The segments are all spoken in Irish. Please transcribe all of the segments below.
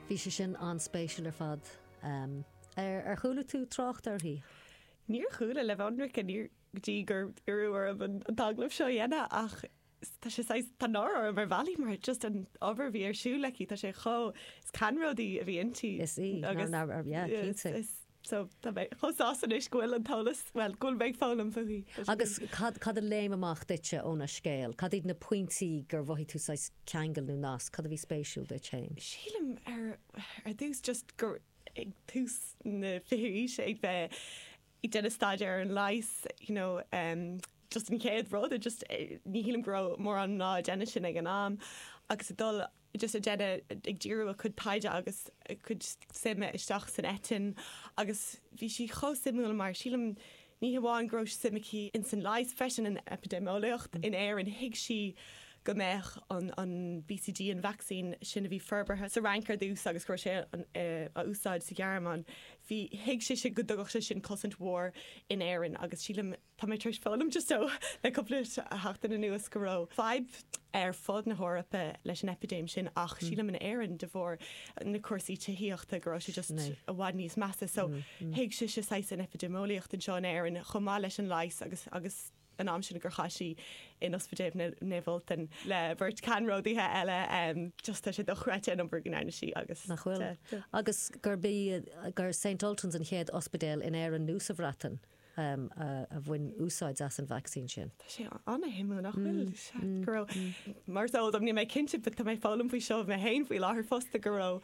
Bhí sé sin an-spéisiúil ar fad. Ar chuala tú trácht uirthi? Níor chuala, le bheith ionraic, níor, go dtí gur iarradh orm an t-agallamh seo a dhéanamh ach tá sé saghas, tá náire orm ar bhealaí mar just an obair a bhí ar siúl aici, tá sé chomh, is ceannródaí a bhí inti. Is í, agus, yeah, cinnte. Is, so tá mé chomh sásta anois go bhfuil an t-eolas, bhuel, go bhfuil mé ag foghlaim fúithi. Agus cad, cad a léim amach duitse óna scéal? Cad iad na pointí gur mhothaigh tú saghas ceangal nó nasc? Cad a bhí spéisiúil duit féin? Sílim ar, ar dtús just gur ag tús na fichiú aoise ag bheith ag déanamh staidéar ar an leigheas, you know, just an chéad rud, just ní shílim go raibh mórán mná ag déanamh sin ag an am agus ag dul just ag déanamh, ag díriú a cuid taighde agus a cuid suime isteach san eitinn agus bhí sí chomh suimiúil mar sílim ní hamháin go raibh suim aici ins an leigheas freisin in eipidéimeolaíocht in Éirinn, thuig sí go mbeadh an an BCG, an vacsaín sin a bhí forbartha sa Fhrainc ar dtús agus go raibh sé á úsáid sa Ghearmáin, bhí, thuig sise go dtugfadh sé sin cosaint mhór in Éirinn agus sílim, tá mé tar éis foghlaim just ó le cúpla seachtain anuas go raibh fadhb ar fud na hEorpa leis an eipidéim sin ach sílim in Éirinn de bharr na cúrsaí tithíochta go raibh sé just i bhfad níos measa so thuig sise saghas an eipidéimeolaíocht anseo in Éirinn chomh maith leis an leigheas agus agus an am sin gur chaith sí in Ospidéal Naomh Ultan le beirt ceannródaithe eile just tá sé dochreidte an obair go ndearna sí agus Nach bhfuil? Agus gurb í gur St Ultan's an chéad ospidéal in Éirinn nó sa Bhreatain a bhain úsáid as an vacsaín sin. Tá sé an-shuimiúil, nach bhfuil? Sea, go raibh, mar is eol dom, níl mé cinnte but tá mé ag foghlaim faoi seo mé féin faoi láthair fosta, go raibh,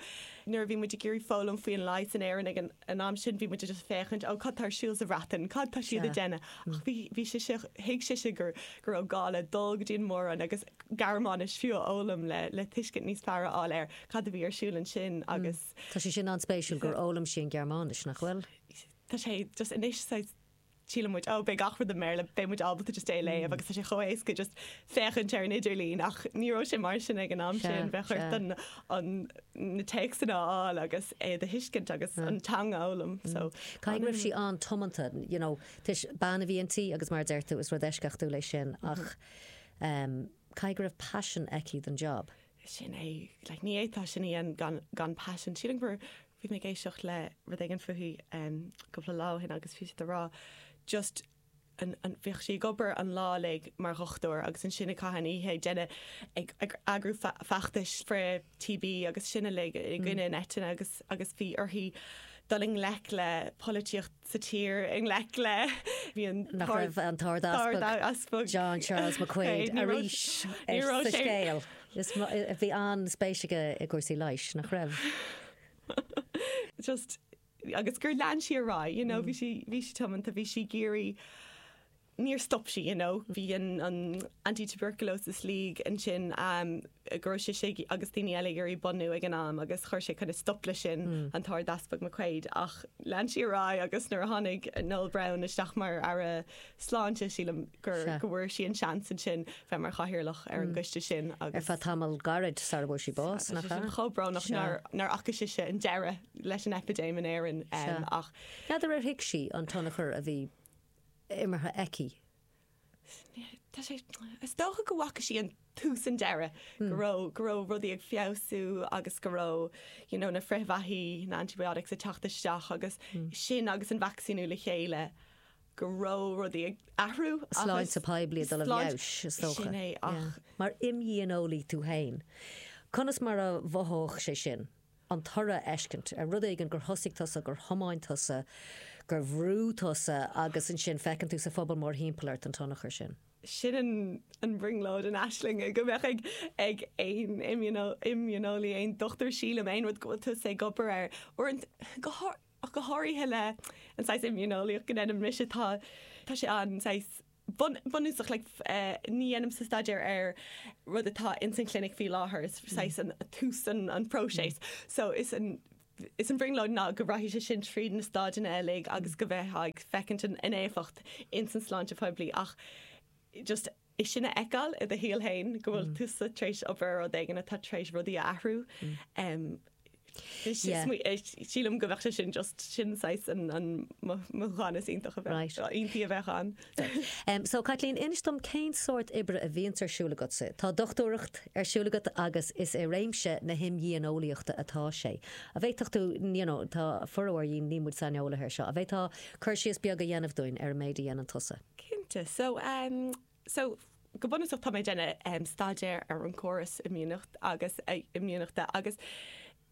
nuair a bhí muid ag iarraidh foghlaim faoi an leigheas in Éirinn ag an am sin, bhí muid just ag féachaint, ó cad tá ar siúl sa Bhreatain, cad tá siad ag déanamh? Ach bhí, bhí sise, thuig sise gur, go raibh gá le dul go dtí an Mór-Roinn agus Gearmáinis fiú a fhoghlaim le, le tuiscint níos fearr a fháil ar cad a bhí ar siúl ansin agus. Tá sé sin an-spéisiúil gur fhoghlaim sí an Ghearmáinis, nach bhfuil? Tá sé just anois saghas síleann muid oh beidh gach rud i mBéarla, beidh muid ábalta just é a léamh agus tá sé chomh éasca just féachaint ar an idirlíon ach ní raibh sé mar sin ag an am sin, bheadh ort an, an, na téacsanna a fháil agus é a thuiscint agus an teanga a fhoghlaim so. Caithfidh go raibh sí an-tiomanta, you know, toisc bean a bhí inti agus mar a deir tú is rud eisceachtúil é sin ach em caithfidh go raibh paisean aici don job. Sin é, like ní fhéadfá sin a dhéanamh gan, gan paisean. Sílim gur, bhí mé ag éisteacht le rud éigin fúithi cúpla lá ó shin agus bhí siad ag rá just an, an, bhíodh sí ag obair an lá uilig mar dhochtúir agus ansin ag caitheamh an oíche ag déanamh, ag, ag eagrú feachtais frith TB agus sin uilig i gcoinne an eitinne agus, agus bhí uirthi dul i ngleic le polaitíocht sa tír, i ngleic le, bhí an Nach raibh an tArd-Easpag John Charles McQuaid arís sa scéal. Bhí an-spéis aige i gcúrsaí leighis, nach raibh? Just, agus gur lean sí ar aghaidh, you know, bhí sí, bhí sí tiomanta, bhí sí ag iarraidh, níor stop sí, you know. Bhí an, an Anti-Tuberculosis League ansin go raibh sise agus daoine eile ag iarraidh bunú ag an am agus chuir sé kind of stop leis sin, an tArd-Easpag McQuaid, ach lean sí ar aghaidh agus nuair a tháinig Noel Browne isteach mar Aire Sláinte, sílim gur, go bhfuair sí an seans ansin bheith mar chathaoirleach ar an gcoiste sin agus. Ar feadh tamall gairid sara bhfuair sí bás, nach ea? Tá sé sin chomh brónach nár, nár fhaca sise an deireadh leis an eipidéim in Éirinn ach. N'fheadar ar thuig sí an tionchar a bhí imeartha aici. Tá sé, is dócha go bhfaca sí an tús an deireadh, go raibh, go raibh rudaí ag feabhsú agus go raibh, you know, na frithbheathaí, na antibiotics ag teacht isteach agus sin agus an vacsaíniú le chéile, go raibh rudaí ag athrú agus. Sláinte poiblí ag dul i bhfeabhas, is dócha. Sin é, ach. Mar imdhíoneolaí tú féin, conas mar a mhothódh sé sin? an toradh a fheiscint ar rud éigin gur thosaigh tusa, gur thiomáin tusa, gur bhrúigh tusa agus ansin feiceann tú sa phobal mórthimpeall ort an tionchar sin. Sin an bhrionglóid, an aisling go mbeadh ag ag aon imdhíoneolaí, aon dochtúir sílim, aon rud go bhfuil tusa ag obair air. Uaireanta, go ach go háirithe le an saghas imdhíoneolaíocht go ndéanaim mise, tá tá sé an saghas bunúsach, like, ní dhéanaimse staidéar ar rud atá ins an chlinic faoi láthair, is saghas an tús an an próiseas. So is an is an bhrionglóid ná go rachaidh sé sin tríd na stáideanna uilig agus go mbeifeá ag feicint an an éifeacht ins an sláinte phoiblí ach just é sin a fheiceáil i do shaol féin go bhfuil tusa tar éis obair ar rud éigin atá tar éis rudaí a athrú. Sílim go bheadh sé sin just sin saghas an mothúchán is iontach a bheadh, iontaí a bheadh ann. So Caitlín, inis dom cén sórt oibre a bhíonns ar siúl agatsa? Tá dochtúireacht ar siúl agat agus is i réimse na himdhíoneolaíochta atá sé. An bhféadfadh tú, you know, tá formhór dhínn, níl muid saineolaithe ar seo, an bhféadfá cur síos beag a dhéanamh dúinn ar an méid a dhéanann tusa? Cinnte. So, so go bunúsach tá mé ag déanamh staidéar ar an córas imdhíonachta agus imdhíonachta agus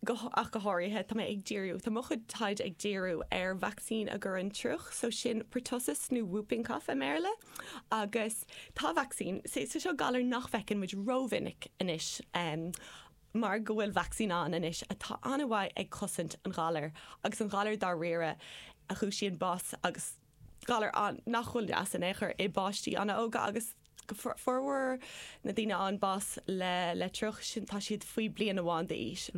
go ach go háirithe tá mé ag díriú, tá mo chuid taighde ag díriú ar vacsaín a gcuireann triuch, so sin pertussis nó whooping cough i mBéarla agus tá vacsaín, so seo galar nach bhfeiceann muid rómhinic anois mar go bhfuil vacsaín ann anois atá an-mhaith ag cosaint an ghalair agus an galar dáiríre a chúisíonn bás agus galar nach bhfuil deas in aon chor i bpáistí an-óga agus formhór na daoine a fhaigheann bás le le triuch sin tá siad faoi bliain amháin d'aois.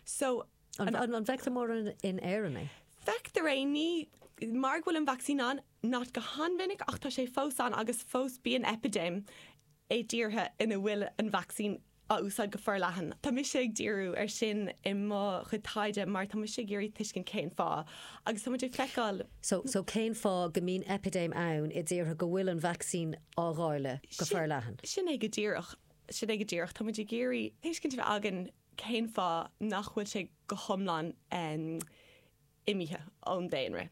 So An an bhfeictear mórán in Éirinn é? Feictear é, ní mar go bhfuil an vacsaín ann, not go han-mhinic ach tá sé fós ann agus fós bíonn eipidéim i dtíortha ina bhfuil an vacsaín á úsáid go forleathan. Tá mise ag díriú ar sin i mo chuid taighde mar tá mise ag iarraidh tuiscint cén fáth agus tá muid ag feiceáil. So, so cén fáth go mbíonn eipidéim ann i dtíortha go bhfuil an vacsaín á dháileadh go forleathan? Sin é go díreach. Sin é go díreach. Tá muid ag iarraidh tuiscint a bheith againn cén fáth nach bhfuil sé go hiomlán imithe ón daonra.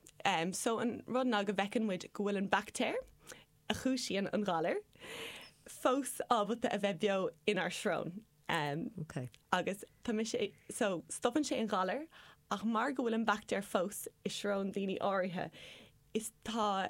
So an rud ná go bhfeiceann muid go bhfuil an baictéar, a chúisíonn an galar, fós ábalta a bheith beo inár srón. Ok. Agus tá mise, so stopann sé an galar ach mar go bhfuil an baictéar fós i srón daoine áirithe, is tá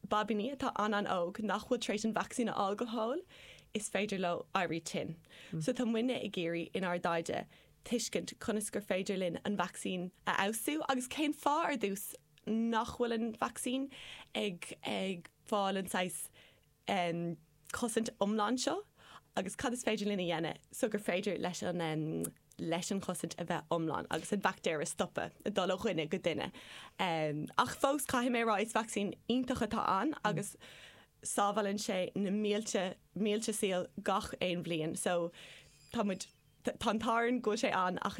baibíní atá an-an-óg nach bhfuil tar éis an vacsaín a fháil go fóill, is féidir leo éirí tinn. So tá muidne ag iarraidh inár dtaighde tuiscint conas gur féidir linn an vacsaín a fheabhsú agus cén fáth ar dtús nach bhfuil an vacsaín ag ag fáil an saghas cosaint iomlán seo agus cad is féidir linn a dhéanamh so gur féidir leis an leis an chosaint a bheith iomlán agus an baictéar a stopadh ag dul ó dhuine go duine. Ach fós caithfidh mé a rá is vacsaín iontach atá ann agus sábhálann sé na mílte mílte saol gach aon bhliain so tá muid tá an t-ádh orainn go bhfuil sé ann ach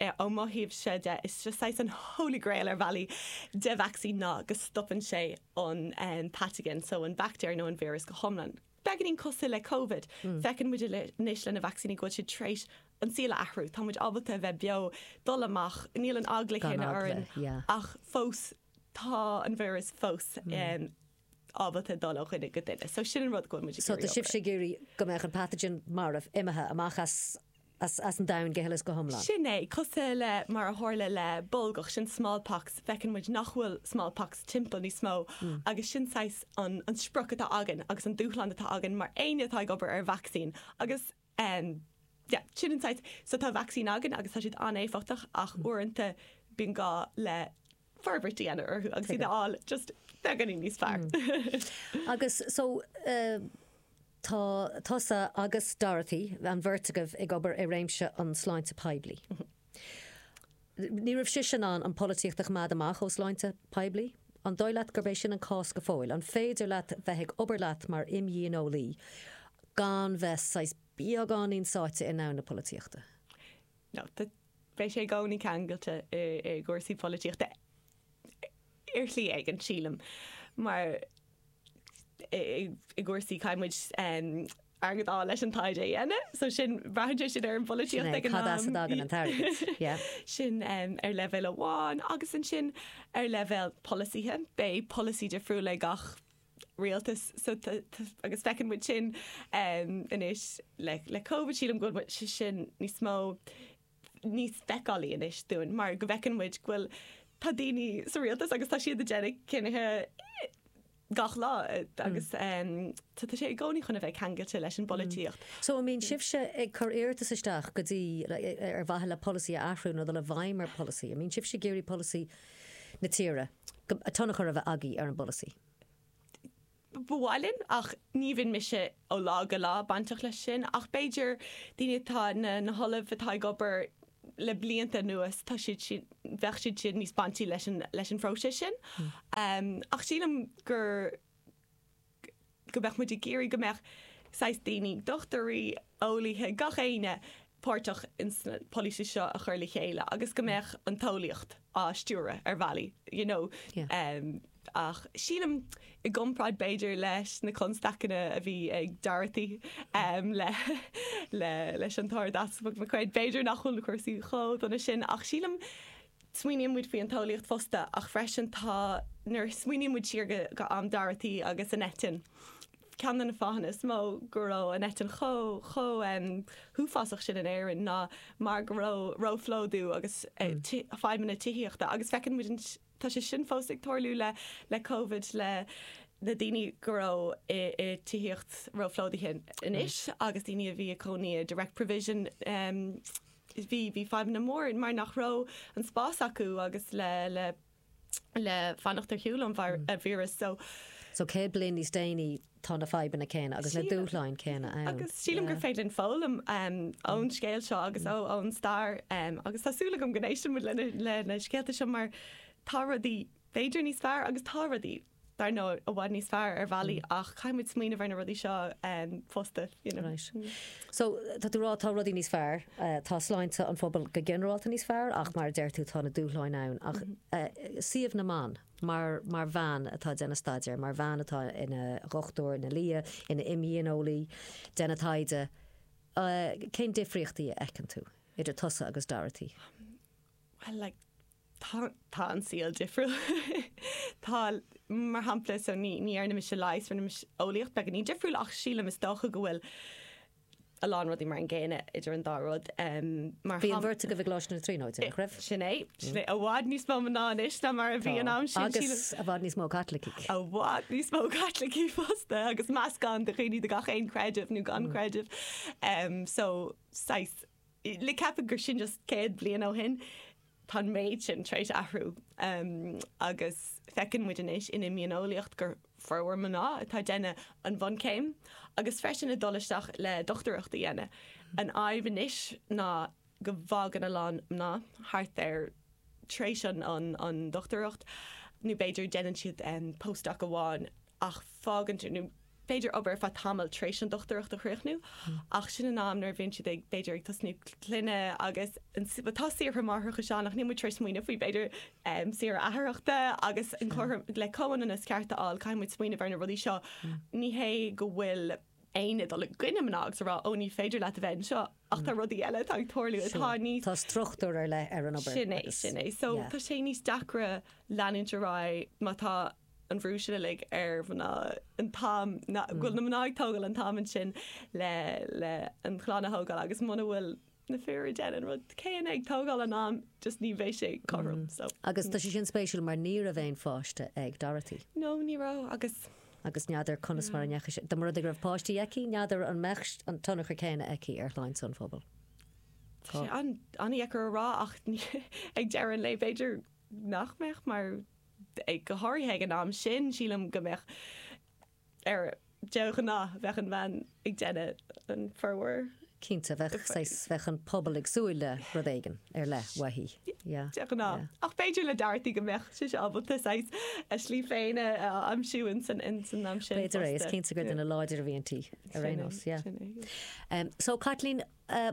Ó mo thaobhse de, is just saghas an holy grail ar bhealaí de vacsaín ná go stopann sé an pathogen, so an baictéar nó an víreas go hiomlán. Beagáinín cosúil le Covid. Feiceann muid anois le na vacsaíní go bhfuil siad tar éis an saol a athrú. Tá muid ábalta a bheith beo, dul amach, níl an eagla chéanna orainn ach fós tá an víreas fós ábalta dul ó dhuine go duine. So sin an rud go bhfuil muid ag iarraidh. So tá sibhse ag iarraidh go mbeadh an pathogen marbh, imithe amach as as an domhan go huile is go hiomlán. Sin é, cosúil le mar a tharla le bolgach, sin smallpox, feiceann muid nach bhfuil smallpox timpeall níos mó agus sin saghas an an sprioc atá againn agus an dúshlán atá againn mar éinne atá ag obair ar vacsaín agus yeah, sin an saghas, so tá vacsaín againn agus tá siad an-éifeachtach ach uaireanta bíonn gá le forbairt a dhéanamh orthu agus iad a fháil just beagáinín níos fearr. Agus so tá tusa agus Dorothy, an bheirt agaibh ag obair i réimse an sláinte poiblí. Ní raibh sise in ann an polaitíocht a choimeád amach ó sláinte poiblí? An dóigh leat gurb é sin an cás go fóill? An féidir leat bheith ag obair leat mar imdhíoneolaí gan bheith saghas beagáinín sáite i ndomhan na polaitíochta? No, Beidh sé i gcónaí ceangailte i gcúrsaí polaitíochta ar shlí éigin, sílim, mar i gcúrsaí caithfidh muid airgead a fháil leis an taighde a dhéanamh, so sin, braitheann sé sin ar an bpolaitíocht ag an am. Cad as a dtagann an t-airgead, yeah. Sin ar leibhéal amháin agus ansin ar leibhéal polasaithe, beidh polasaí difriúil ag gach rialtas so agus feiceann muid sin anois le le Covid sílim go bhfuil sé sin níos mó níos feiceálaí anois dúinn mar go bhfeiceann muid go bhfuil tá daoine sa rialtas agus tá siad ag déanamh cinnithe gach lá agus tá sé i gcónaí chun a bheith ceangailte leis an bpolaitíocht. So an mbíonn sibhse ag cur iarratas isteach go dtí ar mhaithe le polasaí a athrú nó dul i bhfeidhm ar pholasaí? An mbíonn sibhse ag iarraidh polasaí na tíre, tionchar a bheith agaibh ar an bpolasaí? Ba mhaith linn, ach ní bhíonn mise ó lá go lá bainteach leis sin, ach b'fhéidir daoine atá, na na hollaimh atá ag obair le blianta anuas, tá siad sin, bheadh siad sin níos baintí leis an, leis an phróiseas sin. Ach sílim gur, go mbeadh muid ag iarraidh go mbeadh saghas daoine, dochtúirí, eolaithe, gach éinne. páirteach ins na polasaí seo a chur le chéile agus go mbeadh an t-eolaíocht á stiúradh ar bhealaí, you know. Ach sílim, i gcomparáid b'fhéidir leis na constaiceanna a bhí ag Dorothy le le leis an tArd-Easpag McQuaid, b'fhéidir nach bhfuil na cúrsaí chomh dona sin ach sílim, smaoiníonn muid faoi an t-eolaíocht fosta ach freisin tá, nuair a smaoiníonn muid siar go go am Dorothy agus an eitinn, ceann de na fáthanna is mó go raibh an eitinn chomh chomh huafásach sin in Éirinn ná mar go raibh róphlódú agus fadhbanna tithíochta agus feiceann muid an tá sé sin fós ag tarlú le le Covid le na daoine go raibh i i tithíocht róphlódaithe anois agus daoine a bhí ag cónaí i direct provision bhí bhí fadhbanna mór mar nach raibh an spás acu agus le le le fanacht ar shiúl ón víreas. So. So 100 bliain níos déanaí tá na fadhbanna céanna agus na dúshláin céanna ann. Agus sílim gur féidir linn foghlaim ón scéal seo agus ón stair agus tá súil agam go n-éisteann muid le na scéalta seo mar tá rudaí b'fhéidir níos fearr agus tá rudaí dar ndóigh, i bhfad níos fearr ar bhealaí ach caithfidh muid smaoineamh ar na rudaí seo fosta, you know. Right. So, tá tú ag rá tá rudaí níos fearr, tá sláinte an phobail go ginearálta níos fearr ach mar a deir tú tá na dúshláin ann ach suíomh na mban mar mar bhean atá ag déanamh staidéir, mar bhean atá ina dhochtúir, ina lia, ina imdhíoneolaí, déanamh taighde, cén difríochtaí a fheiceann tú idir tusa agus Dorothy? Well, like, Tá, tá an saol difriúil. Tá, mar shampla, so ní, ní dhearna mise leigheas, rinne mise eolaíocht, beagáinín difriúil ach sílim is dócha go bhfuil a lán rudaí mar an gcéanna idir an dá rud. Mar Bhí an bheirt agaibh i gColáiste na Tríonóide, nach raibh? Sin é, sin é. I bhfad níos mó mná anois ná mar a bhí an am sin. Agus i bhfad níos mó Caitlicigh. I bhfad níos mó Caitlicigh fosta agus meascán de dhaoine de gach aon chreideamh nó gan creideamh. So, saghas, le ceapadh gur sin just 100 bliain ó shin, Tá an méid sin tar éis athrú agus feiceann muid anois in imdhíoneolaíocht gur formhór mná atá ag déanamh an bhunchéim agus freisin ag dul isteach le dochtúireacht a dhéanamh. An fhadhb anois ná go bhfágann a lán mná thart ar tar éis an dochtúireacht nó b'fhéidir déanann siad postdoc amháin ach fágann siad nó b'fhéidir obair ar feadh tamaill tar éis an dochtúireacht a chríochnú ach sin an am nuair a bhíonn siad ag, b'fhéidir, ag tosnú clainne agus tá saoire máithreachais ann ach níl muid tar éis smaoineamh faoi b'fhéidir saoire atharthachta agus an cothrom le comhionannas ceart a fháil caithfidh muid smaoineamh ar na rudaí seo. Ní hé go bhfuil éinne ag dul i gcoinne mná agus a rá ó ní féidir leat a bheith anseo ach tá rudaí eile atá ag tarlú atá níos. Tá struchtúr ar leith ar an obair. Sin é, sin é. So tá sé níos deacra leanúint ar aghaidh má tá an bhrú sin uilig ar mhná an t-am go bhfuil na mná ag tógáil an t-am ansin le le an chlann a thógáil agus muna bhfuil na fir ag déanamh an rud céanna ag tógáil an am just ní bheidh sé cothrom so. Agus tá sé sin spéisiúil mar ní raibh aon pháiste ag Dorothy. No ní raibh agus. Agus n'fheadar conas mar a ndeachaigh sé, dá mba rud é go raibh páistí aici, n'fheadar an mbeadh an tionchar céanna aici ar shláinte an phobail. Tá sé an-deacair a rá ach ag deireadh an lae b'fhéidir nach mbeadh mar go háirithe ag an am sin, sílim go mbeadh ar de ghnáth, bheadh an bhean ag déanamh an formhór. Cinnte, bheadh saghas, bheadh an pobal ag súil le rud éigin ar leith uaithi. Yeah. De ghnáth. Ach b'fhéidir le Dorothy go mbeadh sise ábalta saghas a slí féin a aimsiú ins an am sin B'fhéidir é, is cinnte gur duine láidir a bhí inti ar aon nós, yeah. So Caitlín,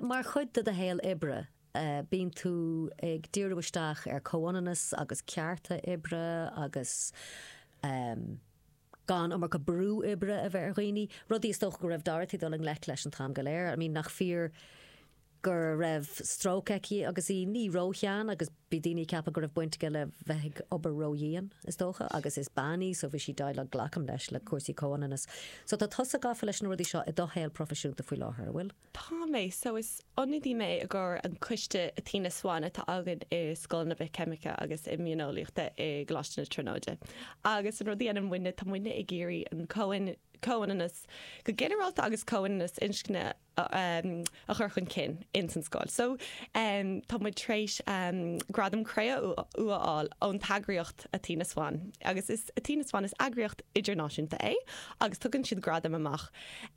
mar chuid de do shaol oibre, Bíonn tú ag díriú isteach ar comhionannas agus cearta oibre agus gan iomarca brú oibre a bheith ar dhaoine, rudaí is dócha go raibh Dorothy ag dul i ngleic leis an t-am go léir. I mean nach fíor go raibh stróc aici agus í ní ró-shean agus bhí daoine ag ceapadh go raibh baint aige le bheith ag obair ró-dhian is dócha agus is bean í so bhí sí déileáil glacaim leis le cúrsaí comhionannas. So tá tusa gafa leis na rudaí seo i do shaol proifisiúnta faoi láthair, an bhfuil? Tá mé. So is ionadaí mé i gcomhair an coiste Athena Swan atá againn i Scoil na Bithcheimice agus Imdhíoneolaíochta i gColáiste na Tríonóide. Agus an rud a dhéanann muidne, tá muidne ag iarraidh an comhionannas go ginearálta agus comhionannas inscne a chur chun cinn ins an scoil. So tá muid tar éis Gradam Cré-umha a fháil ón t-eagraíocht Athena Swan. Agus is Athena Swan is eagraíocht idirnáisiúnta é agus tugann siad gradaim amach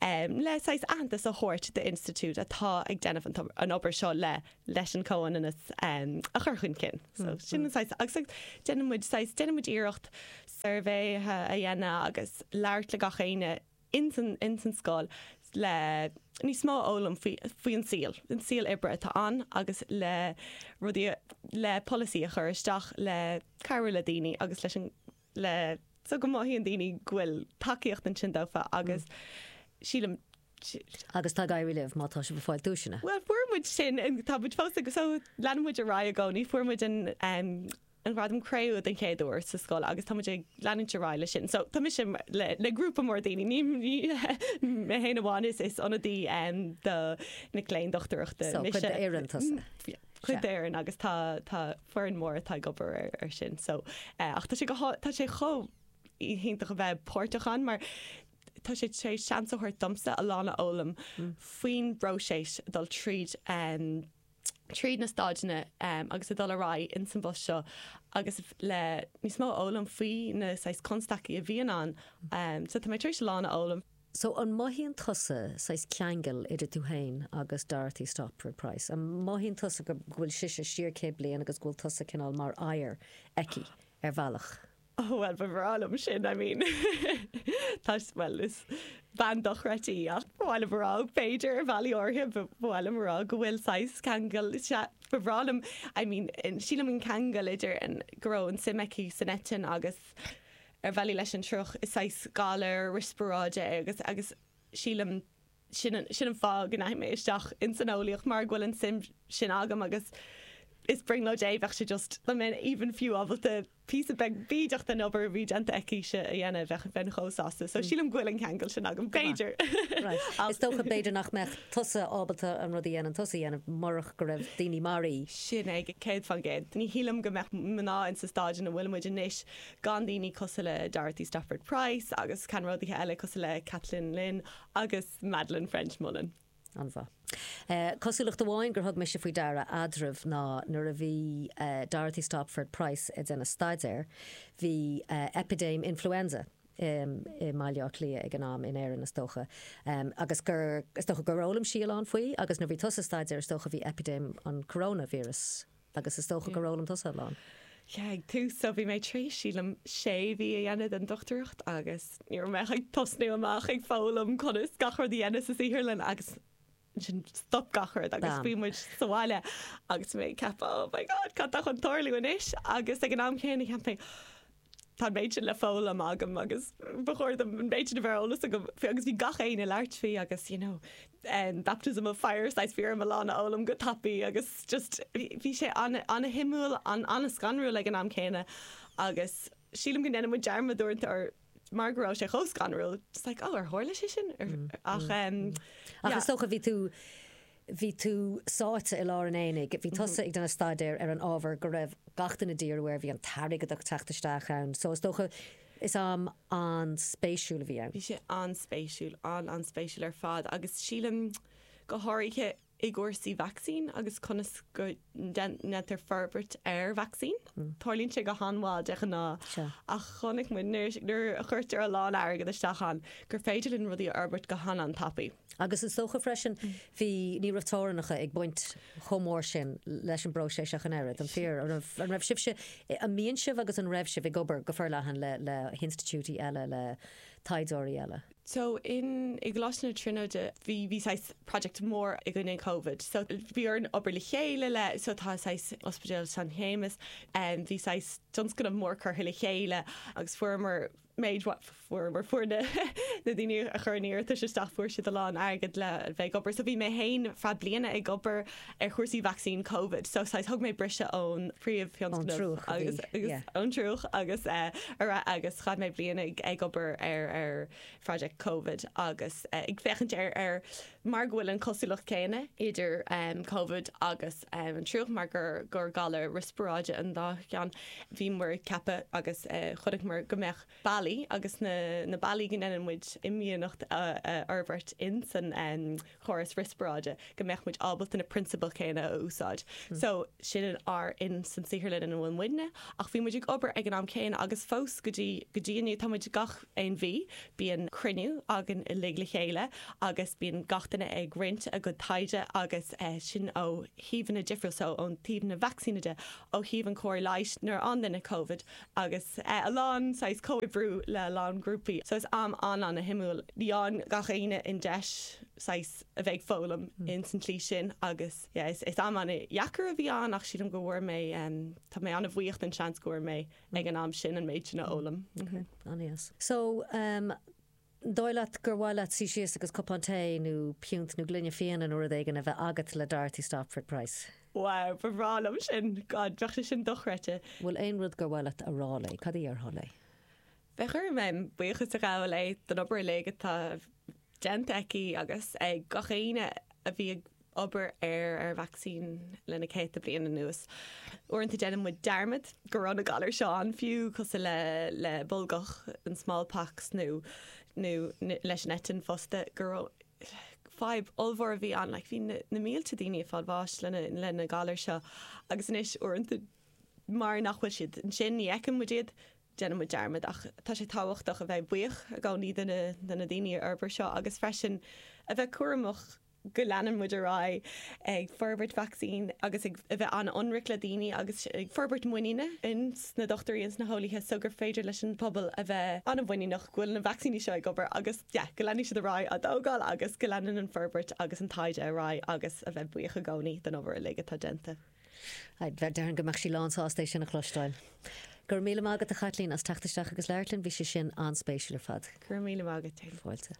le saghas aitheantas a thabhairt d'institiúid atá ag déanamh an obair seo le leis an comhionannas a chur chun cinn. So sin an saghas agus déanann muid saghas déanann muid iarracht suirbhéithe a dhéanamh agus labhairt le gach éinne ins an ins an scoil le. Níos mó a fhoghlaim faoi faoi an saol, an saol oibre atá ann agus le rudaí le polasaí a chur isteach le cabhrú le daoine agus leis an le so go mothaíonn daoine go bhfuil tacaíocht ansin dófa agus sílim Agus tá ag éirí libh má tá sibh ag fáil duaiseanna. Bhuel fuair muid sin, tá muid fós ag so leanann muid ar aghaidh i gcónaí, fuair muid an an Gradam Cré-umha den chéad uair sa scoil agus tá muid ag leanúint ar aghaidh leis sin. So tá mise le le grúpa mór daoine, ní ní mé féin amháin is is ionadaí do mic léinn dochtúireachta So mise. cuid d'fhoireann tusa. Yeah, cuid d'fhoireann agus tá tá foireann mór atá ag obair ar ar sin. So ach tá sé go há tá sé chomh hiontach a bheith páirteach ann mar tá sé tar éis seans a thabhairt domsa a lán a fhoghlaim faoin bpróiseas dul tríd tríd na staideanna agus a dul ar aghaidh ins an bpost seo agus le níos mó a fhoghlaim faoi na saghas constaicí a bhíonn ann. So tá mé tar éis a lán a fhoghlaim. So an mothaíonn tusa saghas ceangal idir tú féin agus Dorothy Stopford Price? An mothaíonn tusa go bhfuil sise siar 100 bliain agus go bhfuil tusa cineál mar oidhre aici ar bhealach? Oh bhuel ba bhreá liom sin, I mean tá bhuel is bean dochreidte í ach ba mhaith liom a rá b'fhéidir ar bhealaí áirithe ba mhaith liom a rá go bhfuil saghas ceangal sea ba bhreá liom I mean sílim an ceangal idir an go raibh an suim aici san eitinn agus ar bhealaí leis an triuch is saghas galar riospráide é agus agus sílim sin an, sin an fáth go ndeachaigh mé isteach ins an eolaíocht mar go bhfuil an suim sin agam agus is brionglóid é, bheadh sé just, dá mbeinn even fiú ábalta píosa beag bídeach den obair a bhí déanta aici-se a dhéanamh, bheadh, bheinn chomh sásta. So sílim go bhfuil an ceangal sin agam, b'fhéidir. Right. Is dócha b'fhéidir nach mbeadh tusa ábalta an rud a dhéanann tusa a dhéanamh murach go raibh daoine mar í. Sin é, 100%. Ní shílim go mbeadh mná in sa staid ina bhfuil muid anois gan daoine cosúil le Dorothy Stopford Price agus ceannródaithe eile cosúil le Kathleen Lynn agus Madeleine French Mullen. An-mhaith. Cosúlacht amháin gur thug mise faoi deara eadraibh ná nuair a bhí Dorothy Stopford Price ag déanamh staidéir, bhí eipidéim influenza i mBaile Átha Cliath ag an am, in Éirinn is dócha, agus gur, is dócha gur fhoghlaim sí a lán faoi agus nuair a bhí tusa ag staidéar is dócha bhí eipidéim an coronavirus Agus is dócha gur fhoghlaim tusa a lán. Yeah, ag tús, so bhí mé tar éis, sílim, sé mhí a dhéanamh den dochtúireacht agus ní raibh mé ach ag tosnú amach ag foghlaim conas gach rud a dhéanamh sa saotharlann agus ansin stop gach rud agus bhí muid sa bhaile agus mé ag ceapadh oh my god, cad tá chun tarlú anois? Agus ag an am céanna cheap mé tá an méid sin le foghlaim agam agus ba chóir dom an méid sin a bheith ar eolas agam faoi agus bhí gach éinne ag labhairt faoi agus you know baptism of fire saghas bhí orm a lán a fhoghlaim go tapaidh agus just bhí sé an-shuimiúil an-scanrúil ag an am céanna agus sílim go ndéanann muid dearmad uaireanta ar mar go raibh sé chomh scanrúil just like oh ar tharla sé sin ach Ach is dócha bhí tú Bhí tú sáite i lár an aonaigh. Bhí tusa ag déanamh staidéir ar an ábhar go raibh gach duine ag díriú air, bhí an t-airgead ag teacht isteach ann. So is dócha is am an-spéisiúil a bhí ann. Bhí sé an-spéisiúil, an-an-spéisiúil ar fad agus sílim go háirithe i gcúrsaí vacsaín agus conas go ndéantar forbairt ar vacsaín. Tarlaíonn sé go han-mhall de ghnáth ach chonaic muid nuair a chuirtear a lán airgead isteach ann gur féidir linn rudaí a fhorbairt go han-an-tapaidh. Agus is dócha freisin, bhí, ní raibh teorainneacha ag baint chomh mór sin leis an bpróiseas ach an oiread, an fíor? An raibh, an raibh sibhse, an mbíonn sibh agus an raibh sibh ag obair go forleathan le, le hinstitiúidí eile, le taighdeoirí eile? So in, i gColáiste na Tríonóide bhí, bhí saghas project mór i gcoinne Covid. So bhí orainn obair le chéile le, so tá saghas Ospidéal San Shéamas, bhí saghas tionscnamh mór curtha le chéile agus fuaireamar, méid fuaireamar fuair na na daoine a chuir an iarratais isteach fuair siad a lán airgead le bheith ag obair so bhí mé féin feadh bliana ag obair ar chúrsaí vacsaín Covid so saghas thug mé briseadh ón príomhthionscnamh agus agus ón triúch agus eh, ar agus chaith mé bliain ag ag obair ar ar project Covid agus eh, ag féachaint ar ar mar go bhfuil an cosúlacht céanna idir um, Covid agus um, an triúch mar gur gur galar riospráide an dá cheann bhíomar ag ceapadh agus eh, chonaiceamar go mbeadh bealaí agus na na bealaí go ndéanann muid imdhíonacht a a fhorbairt in san um, chóras riospráide go mbeadh muid ábalta na prionsabail céanna a úsáid. So sin an ár in san saotharlann ina bhfuil muidne ach bhí muid ag obair ag an am céanna agus fós go dtí go dtí inniu tá muid gach aon mhí bíonn cruinniú againn uilig le chéile agus bíonn gach duine ag roinnt a gcuid taighde agus sin ó thaobhanna difriúil so ón taobh na vacsaíne de, ó thaobh an cóir leighis nuair a fhaigheann duine Covid agus a lán saghas comhoibriú. oibriú le a lán grúpaí. So is am an-an-shuimiúil. Ní fhaigheann gach éinne an deis saghas a bheith ag foghlaim ins an tslí sin agus yeah is is am an-dheacair a bhí ann ach sílim go bhfuair mé tá mé an-bhuíoch den seans go bhfuair mé ag an am sin an méid sin a fhoghlaim. Okay, an-deas. So um An dóigh leat gur mhaith leat suí síos agus cupán tae nó piúnt nó gloine fíona nó rud éigin a bheith agat le Dorothy Stopford Price? Wow, ba bhreá liom sin! God, bheadh sé sin dochreidte. Bhfuil aon rud gur mhaith leat a rá léi? Cad a dhéarfá léi? Bheadh orm em buíochas a ghabháil léi don obair uilig atá déanta aici agus ag gach éinne a bhí ag obair ar ar vacsaín le na céadta bliain anuas. Uaireanta déanann muid dearmad go raibh na galair seo ann fiú, cosúil le le bolgach, an smallpox nó nó leis an eitinn fosta, go raibh fadhb ollmhór a bhí ann, like bhí na na mílte daoine ag fáil bháis le na le na galair seo agus anois uaireanta mar nach bhfuil siad ansin ní fheiceann muid iad, déanann muid dearmad ach tá sé tábhachtach a bheith buíoch i gcónaí de na de na daoine a fhorbair seo agus freisin a bheith cúramach go leanann muid ar aghaidh ag forbairt vacsaín agus ag a bheith an-ionraic le daoine agus ag forbairt muiníne ins na dochtúirí ins na heolaithe so gur féidir leis an pobal a bheith an-mhuiníneach go bhfuil na vacsaíní seo ag obair agus yeah go leanfaidh siad ar aghaidh á dtógáil agus go leanann an forbairt agus an taighde ar aghaidh agus a bheith buíoch i gcónaí don obair uilig atá déanta. Déarfainn go mbeadh sí lánsásta é sin a chloisteáil. Go raibh míle maith agat a Chaitlín as teacht isteach agus labhairt linn, bhí sé sin an-spéisiúil ar fad. Go raibh míle maith agat. Fáilte.